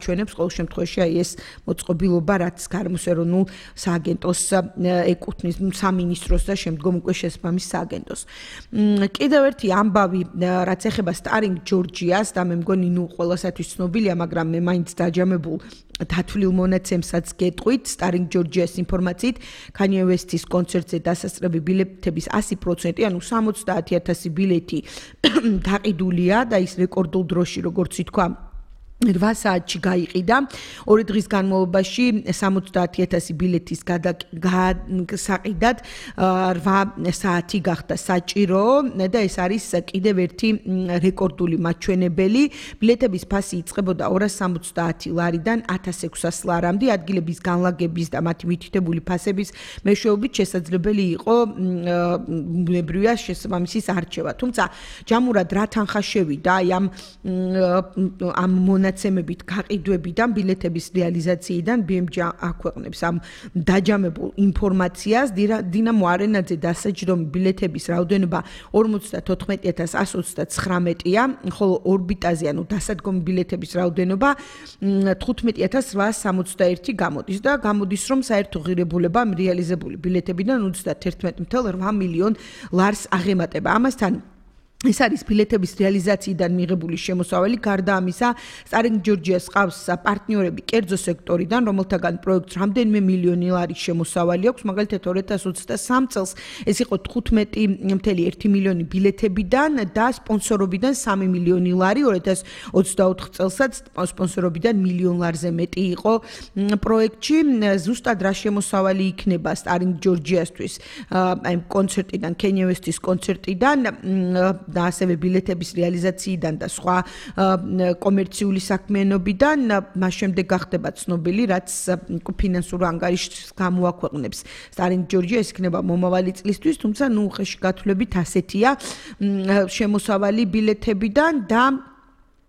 ჩვენებს ყოველ შემთხვევაში აი ეს მოწყობილობა რაც გარემოს ეროვნულ სააგენტოს ეკუთვნის სამინისტროს და შემდგომ უკვე შესაბამის სააგენტოს. კიდევ ერთი ამბავი რაც ეხება Starring Georgia-ს და მე მგონი ყველასათვის ცნობილია, მაგრამ მე მაინც დაჯამებულ დათვლილ მონაცემსაც გეტყვით Starring Georgia-ს ინფორმაციით Kanye West-ის კონცერტზე დასასწრები ბილეთების 100%, ანუ 70,000 ბილეთი გაყიდულია და ის რეკორდულ დროში, როგორც ითქვა, 8 საათში გაიყიდა. 2 დღის განმავლობაში 70,000 ბილეთის გასაყიდად 8 საათი გახდა საჭირო და ეს არის კიდევ ერთი რეკორდული მაჩვენებელი. ბილეთების ფასი იწყებოდა 270 ლარიდან 1600 ლარამდე. ადგილების განლაგების და მათი მითითებული ფასების მეშვეობით შესაძლებელი იყო ბუნებრივია შესაბამისის არჩევა. თუმცა ჯამურად რა თანხა შევიდა აი ამ მონაცემებით გაყიდვებიდან ბილეთების რეალიზაციიდან BMG აქვეყნებს ამ დაჯამებულ ინფორმაციას. დინამო არენაძე დასაჯდომი ბილეთების რაოდენობა 54,129-ია, ხოლო ორბიტაზე ანუ დასადგომი ბილეთების რაოდენობა 15,861 გამოდის და გამოდის რომ საერთო ღირებულება რეალიზებული ბილეთებიდან 31.8 მილიონ ლარს აღემატება. ამასთან ეს არის ბილეთების რეალიზაციიდან მიღებული შემოსავალი. გარდა ამისა, Starring Georgia-ს ყავს პარტნიორები კერძო სექტორიდან, რომელთაგან პროექტს რამდენიმე მილიონი ლარის შემოსავალი აქვს. მაგალითად 2023 წელს ეს იყო 15.1 მილიონი ბილეთებიდან და სპონსორობიდან 3 მილიონი ლარი. 2024 წელსაც სპონსორობიდან მილიონ ლარზე მეტი იყო პროექტში. ზუსტად რა შემოსავალი იქნება Starring Georgia-სთვის აი კონცერტიდან, Kanye West-ის კონცერტიდან და ასევე ბილეთების რეალიზაციიდან და სხვა კომერციული საქმიანობიდან მას შემდეგ გახდება ცნობილი, რაც ფინანსურ ანგარიშს გამოაქვეყნებს Starring Georgia, ეს იქნება მომავალი წლისთვის, თუმცა უხეში გათვლებით ასეთია შემოსავალი ბილეთებიდან და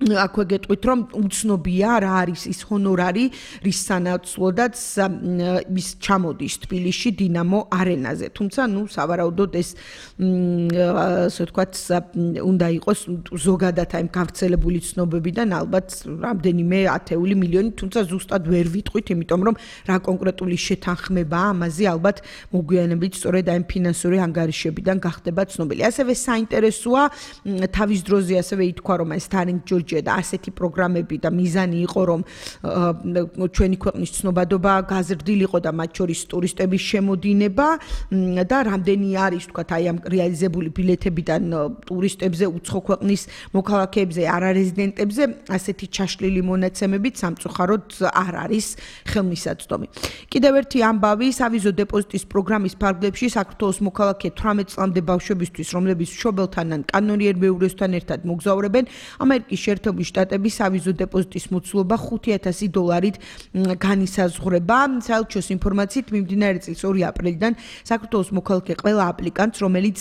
აქვე გეტყვით რომ უცნობია რა არის ის ჰონორარი, რის სანაცვლოდაც ის ჩამოდის თბილისში დინამო არენაზე. თუმცა სავარაუდოდ ეს ასე ვთქვათ უნდა იყოს ზოგადად აი გავრცელებული ცნობებიდან ალბათ რამდენიმე ათეული მილიონი, თუმცა ზუსტად ვერ ვიტყვით, იმიტომ რომ რა კონკრეტული შეთანხმებაა ამაზე ალბათ მოგვიანებით სწორედ აი ფინანსური ანგარიშებიდან გახდება ცნობილი. ასევე საინტერესოა თავის დროზე ასევე ითქვა რომ აი Starring Georgia და ასეთი პროგრამები და მიზანი იყო რომ ჩვენი ქვეყნის ცნობადობა გაზრდილიყო და მათ შორის ტურისტების შემოდინება და რამდენი არის თქვა აი ამ რეალიზებული ბილეთებიდან ტურისტებზე, უცხო ქვეყნის მოქალაქეებზე, არარეზიდენტებზე ასეთი ჩაშლილი მონაცემებით სამწუხაროდ არ არის ხელმისაწვდომი. კიდევ ერთი ამბავი, სავიზო დეპოზიტის პროგრამის ფარგლებში საქართველოს მოქალაქე 18 წლამდე ბავშვებისთვის, რომლებიც მშობელთან ან კანონიერ მეუღლესთან ერთად მოგზაურებენ, ამერიკის შეერთებული შტატების სავიზო დეპოზიტის მოცულობა $5,000-ით განისაზღვრება. საელჩოს ინფორმაციით მიმდინარე წლის 2 აპრილიდან საქართველოს მოქალაქე ყველა აპლიკანტს, რომელიც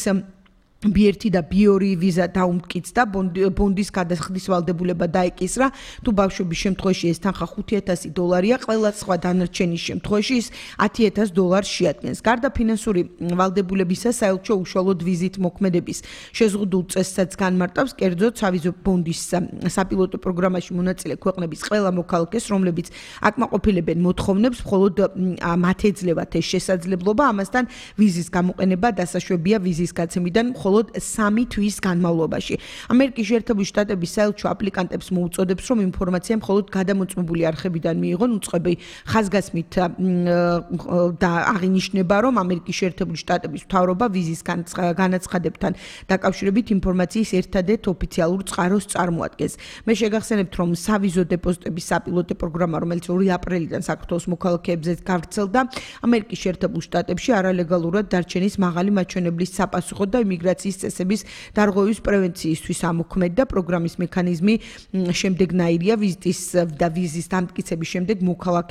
B1 და B2 ვიზა დაუმტკიცდა, ბონდის გადახდის ვალდებულება დაეკისრა. თუ ბავშვების შემთხვევაში ეს თანხა $5,000-ია, ყველა სხვა დანარჩენის შემთხვევაში ის $10,000 შეადგენს. გარდა ფინანსური ვალდებულებისა, საელჩო უშუალოდ ვიზით მოქმედების შეზღუდულ წესსაც განმარტავს, კერძოდ სავიზო ბონდის საპილოტო პროგრამაში მონაწილე ქვეყნების ყველა მოქალაქეს, რომლებიც აკმაყოფილებენ მოთხოვნებს, მხოლოდ მათ ეძლევათ ეს შესაძლებლობა, ამასთან ვიზის გამოყენება დასაშვებია ვიზის გაცემიდან მხოლოდ 3 თვის განმავლობაში. ამერიკის შეერთებული შტატების საელჩო აპლიკანტებს მოუწოდებს, რომ ინფორმაცია მხოლოდ გადამოწმებული არხებიდან მიიღონ. უწყები ხაზგასმით და აღინიშნება, რომ ამერიკის შეერთებული შტატების მთავრობა ვიზის განაცხადებთან დაკავშირებით ინფორმაციის ერთადერთ ოფიციალურ წყაროს წარმოადგენს. მე შეგახსენებთ, რომ სავიზო დეპოზიტების საპილოტო პროგრამა, რომელიც 2 აპრილიდან საქართველოს მოქალაქეებზე გავრცელდა, ამერიკის შეერთებულ შტატებში არალეგალურად დარჩენის მაღალი მაჩვენებლის საპასუხოდ და იმიგრაციის წესების დარღვევის პრევენციისთვის ამოქმედდა. პროგრამის მექანიზმი შემდეგნაირია: ვიზიტის და ვიზის დამტკიცების შემდეგ მოქალაქე